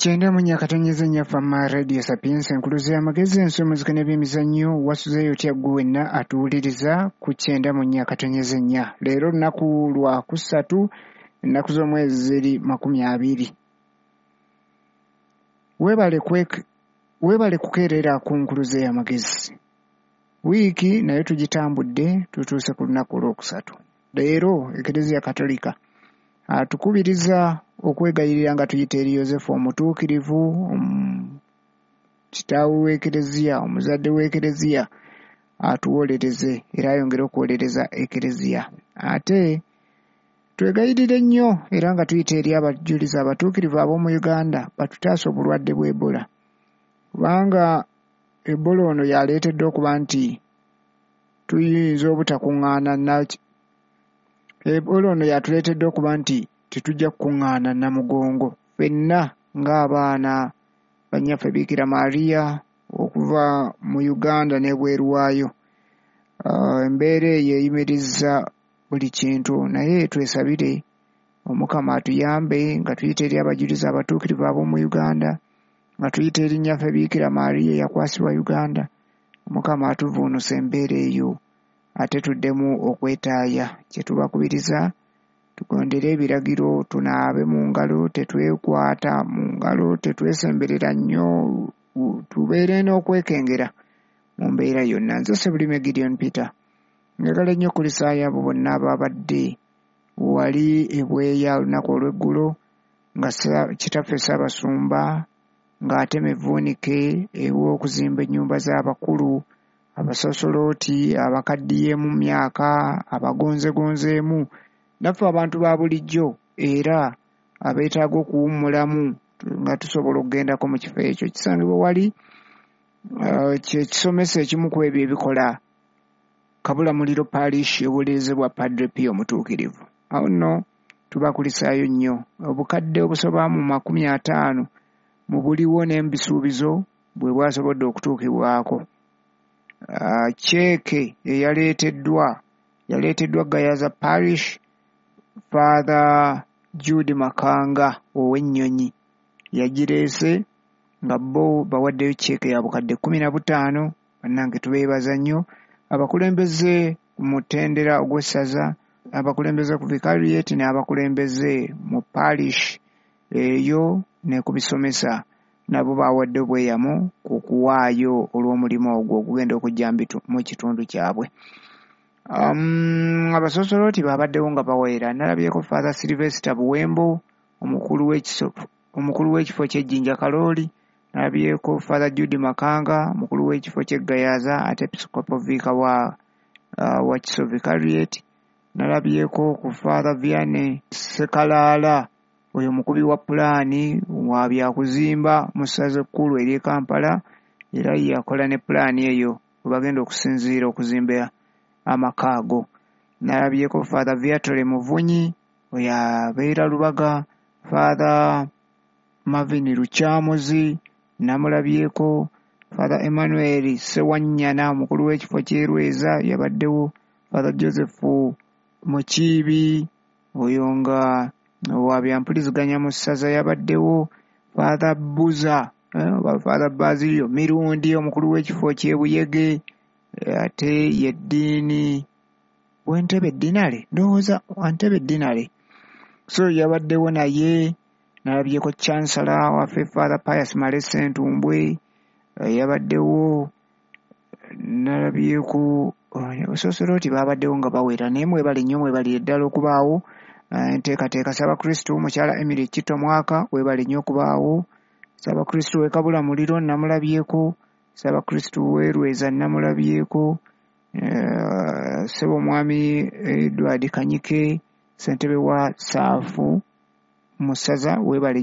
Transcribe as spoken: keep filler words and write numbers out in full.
Kyenda mu nnya akatonyeza ennya Fama Radio Sapientia, enkuluze y'amagezi, ensi, omuzika n'ebyemizannyo. Wasuzeeyo otya ggwe wenna atuwuliriza ku kyenda mu nnya akatonyeza ennya? Leero lunaku lwa kusatu, ennaku z'omwezi ziri makumi abiri. Weebale kwek- weebale kukeerera ku nkuluze y'amagezi. Wiiki nayo tugitambudde, tutuuse ku lunaku olwokusatu. Leero Ekereziya Katolika atukubiriza okwegayirira nga tuyita eri Yozefu omutuukirivu, um, kitaawe w'Ekereziya, omuzadde w'Ekereziya, atuwolereze era ayongere okuwolereza Ekereziya. Ate twegayirire nnyo era nga tuyita eri abajulizi abatuukirivu ab'omu Uganda batutaase obulwadde bwa Ebola, kubanga Ebola ono yaleetedde okuba nti tuyinza obutakuŋŋaana na Ebola ono yatuleetedde okuba nti tetujja kukuŋŋaana Namugongo ffenna ng'abaana bannyaffe Biikira Maria okuva mu Uganda n'ebweru waayo. Uh, embeera eyo eyimirizza buli kintu, naye twesabire Omukama atuyambe nga tuyita eri abajulizi abatuukirivu ab'omu Uganda, nga tuyita eri nnyaffe Biikira Maria eyakwasibwa Uganda. Omukama atuvuunusa embeera eyo ate tuddemu okwetaaya. Kye tubakubiriza, tugondere ebiragiro, tunaabe mu ngalo, tetwekwata mu ngalo, tetwesemberera nnyo, tubeere n'okwekengera mu mbeera yonna. Nze Ssebulime Gideon Peter, njagala nnyo okulisaayo abo bonna ababadde wali ebweya olunaku olw'eggulo nga kitaffe Ssaabasumba ng'atema evvuunike ew'okuzimba ennyumba z'abakulu, abasosolooti, abakaddiyeemu mu myaka, abagonzegonzeemu, naffe abantu ba bulijjo era abeetaaga okuwummulamu nga tusobola okugendako mu kifo ekyo. Kisangibwa wali uh, kye kisomesa ekimu ku ebyo ebikola Kabulamuliro Parish ewolerezebwa Padre Pio Omutuukirivu. Awo nno tubakulisaayo nnyo. Obukadde obusoba mu makumi ataano mu buliwo n'ebisuubizo bwe bwasobodde okutuukibwako. Uh, ceeke eyaleeteddwa yaleeteddwa Gayaza Parish, Father Jude Makanga ow'Ennyonyi yagireese, nga bo bawaddeyo ceeke ya bukadde kkumi na butaano. Bannange, tubeebaza nnyo. Abakulembeze ku mutendera ogw'essaza, abakulembeze ku vicariate n'abakulembeze mu parish eyo ne ku bisomesa nabo bawadde obweyamo ku kuwaayo olw'omulimu ogwo ogugenda okujja mu kitundu kyabwe. Um, abasosolooti babaddewo nga bawera. Nalabyeko Father Sylvester Buwembo, omukulu w'ekifo w'ekifo ky'Ejjinja Kalooli. Nalabyeko Father Jude Makanga, omukulu w'ekifo ky'e Gayaza ate Episcopal Vicar wa, uh, wa Kiso Vicariate. Nalabyeko ku Father Vianney Sekalaala, oyo mukubi wa pulaani wa byakuzimba mu ssaza ekkulu ery'e Kampala, era yakola ne pulaani eyo we bagenda okusinziira okuzimba amaka ago. Nalabyeko Father Viatore Muvunyi, oyo abeera Lubaga. Father Marvin Lukyamuzi namulabyeko. Father Emmanuel Sewanyana, omukulu w'ekifo ky'e Lweza, yabaddewo. Father Joseph Mukiibi, oyo nga wa byampuliziganya mu ssaza, yabaddewo. Father Buza eh, oba Father Basilio Mirundi, omukulu w'ekifo ky'e Buyege, ate ye ddiini w'Entebe Ddinale, ndowooza Entebe Ddinale, so yabaddewo naye. Nalabyeko Chancellor waffe Father Pius Male Ssentumbwe yabaddewo. Nalabyeko abasosolooti babaddewo nga bawera, naye mwebale nnyo, mwebalire ddala okubaawo. Enteekateeka, Ssaabakristu mukyala Emily Kito Mwaka, weebale nnyo okubaawo. Ssaabakristu w'e Kabulamuliro namulabyeko. Ssaabakristu w'e Lweza namulabyeko. Ssebo omwami Edward Kanyike, ssentebe wa Ssaafu mu ssaza, weebale.